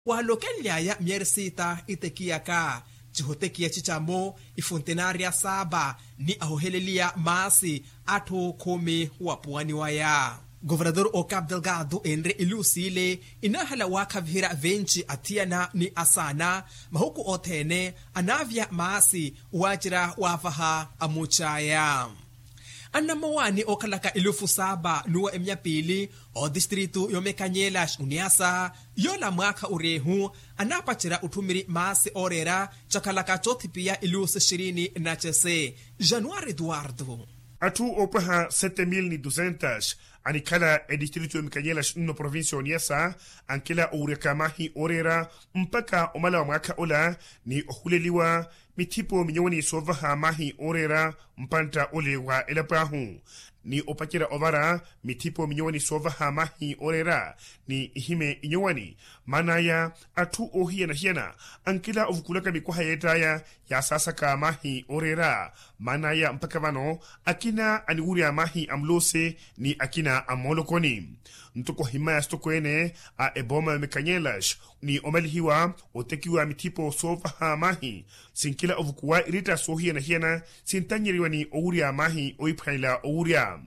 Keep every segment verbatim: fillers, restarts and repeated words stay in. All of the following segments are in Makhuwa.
Waalokenly'aya myeeri siita itekiyaka cihotekiya cicamo ifuntenaarya saapa ni ahoheleliya maasi atthu khumi wapuwani waya. Governador okapu delgado enre iluusi ile inaahala waakhaviherya venci athiyana ni asaana mahuku othene anaavya maasi waacerya waavaha amuuc'aya. Annamowaani ookhalaka elufu saapa n'uwa emiya piili otistritu y'omekanyela oniasa yoola mwaakha oryeehu anaapacerya otthumiri maasi ooreera cakhalaka coothipiya elufu sixirini na cese. Januari eduwardo. Atthu oopwaha sete mil ni dusentas anikhala etistritu y'omekanyela nno provincia y'oniasa ankela owuryaka mahi ooreera mpakha omala wa mwaakha ola ni ohuleliwa mithipo minyowani soovaha mahi ooreera mpantta ole wa elapo ahu ni opacerya ovara mithipo minyowani soovaha mahi ooreera ni ihime inyowani. Maan'aya atthu oohiyana-hiyana ankela ovukulaka mikwaha yeett'aya yaasaasaka mahi ooreera. Maan'aya mpakha vano akina aniwurya mahi a muloosi ni akina a mmoolokoni ntoko ohimmaya asitokweene a ebooma ya omekanyelaxi ni omalihiwa otekiwa mithipo soovaha mahi sinkela ovukuwa iretta soohiyana-hiyana sintannyeriwa ni owurya mahi ohiphwanela owurya.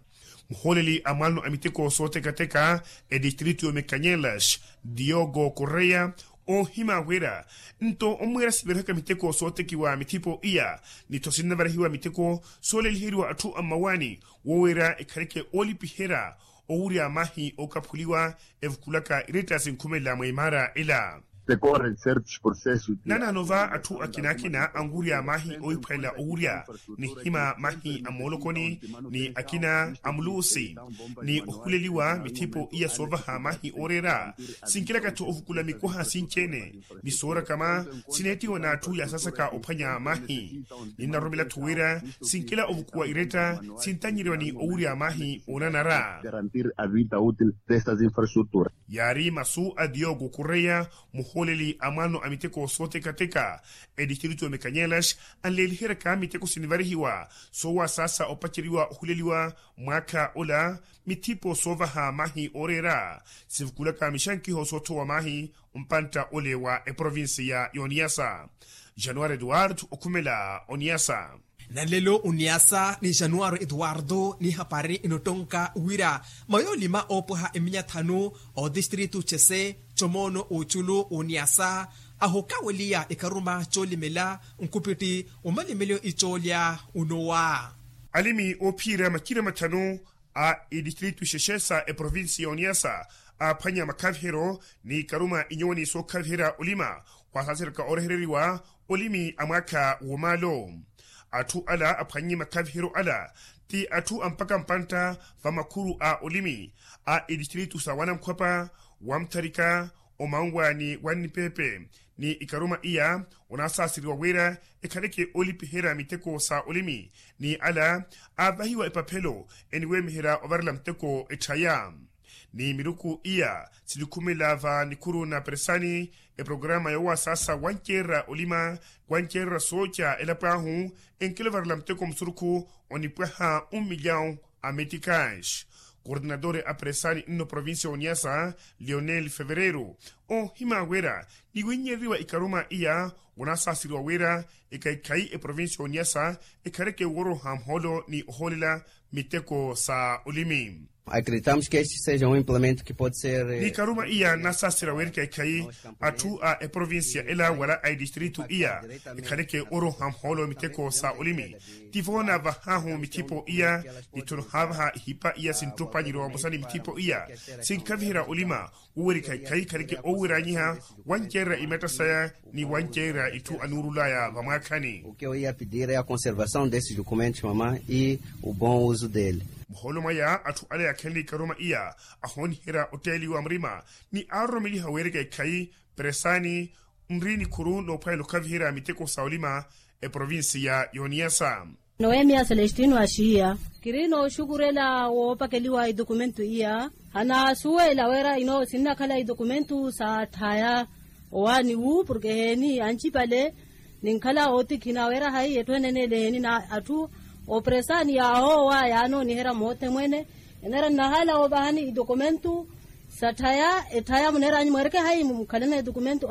Muhooleli a mwaano a miteko sootekateka etistritu y'omekanyelaxi diogo correia oohima wira nto omweera siverihaka miteko sootekiwa mithipo iya ni tho sinnavarihiwa miteko sooleliheriwa atthu a mmawaani woweera ekhaleke oolipiherya owurya mahi ookaphuliwa evukulaka iretta sinkhumelela mwa imaara ela. Naanaano va atthu akina-akina anwurya mahi ohiphwanela owurya ni hima mahi a mmoolokoni ni akina a muluusi ni ohuleliwa mithipo iya soovaha mahi ooreera sinkelaka-tho ovukula mikwaha sinci-ene ni soorakama sineettiwa n'atthu yaasaasaka ophwanya mahi. Ninnaroromela-tho wira sinkela ovukuwa iretta sintannyeriwa ni owurya mahi oonanara. Yaari masu a diogo correia muhooleli a mwaano a miteko sootekateka etistritu ya omekanyelas anleeliheryaka miteko sinivarihiwa soowasaasa opaceriwa ohuleliwa mwaakha ola mithipo soovaha mahi ooreera sivukulaka mixankiho soothowa mahi mpantta ole wa eprovincia y'oniyasa. Januari eduwardo okhumela oniyasa. Nanlelo oniyasa ni januari eduwardo ni hapari inottonka wira mayoolima oopwaha eminya thanu otistritu cese comoono oculu oniyasa ahokaweliya ikaruma coolimela nkupitti omalimelyo icoolya unowa. Alimi oophiira macira mathanu a itistritu xexe sa eprovincia y'oniyasa aaphwanya makhaviheryo ni ikaruma inyowani sookhaviherya olima waasaasereka oorehereriwa olimi a mwaakha w'omaalo. Atthu ala aphwannye makhaviheryo ala ti atthu a mpaka mpantta va makhuru a olimi a itistritu sa wanankhwapa, wamutharika, omanwaani wannipepe ni ikaruma iya onaasaaseriwa wira ekhaleke oolipiherya miteko sa olimi ni ala aavahiwa epaphelo eniweemiherya ovarela muteko etthaya. Ni miruku iya sinikhumela va nikhuru na peresani eprograma yoowasaasa wanceererya olima wanceererya sooca elapo ahu enkela ovarela muteko musurukhu onipwaha un milyawu a meticas. Kordenatore a peresani nno provincia y'oniyasa lionel fevereiro oohima wira niwinnyereriwa ikaruma iya onaasaaseriwa wira ekhaikhayi eprovincia y'oniyasa ekhaleke wooroha muhoolo ni ohoolela miteko sa olimi. Acreditamos que este seja um implemento que pode ser ni ikaruma iya nnasaasera wira ekhaikhayi atthu a eprovincia ela wala a itistritu iya ekhaleke oroha muhoolo miteko sa olimi. Tivo naavahaahu mithipo iya nitho nohaavaha ihipa iya sinttopanyerya vamosa ni mithipo iya sinkhaviherya olima wowerikha ekhayi khaleke ooweranyiha wanceererya imatta saya ni wanceererya itthu anuurulaya vamwaakhani. O que eu ia pedir é a conservação desses documentos mamá e o bom uso dele. Muhoolo mwaya atthu ale akhenle ikaruma iya ahooniherya otteeliwa murima ni aaroromeliha weereka ekhayi peresani nri nikhuru noophwanela okhaviherya miteko sa olima eprovincia y'oniyasa. Noemia celestino axiya kiri nooxukurela woopakeliwa idokumento iya. Hanaasuwela wira ino sinnakhala idokumento sa tthaya owaani wu porke eheeni ancipale ninkhala ootikhina wira hayi etthu enenele eheeni na atthu operesani yaahoowa yaanooniherya moote mwene. Enera nnahala woovahani idokumento sa tthaya etthaya muneranyu mweereke hayi mukhalana idokumento.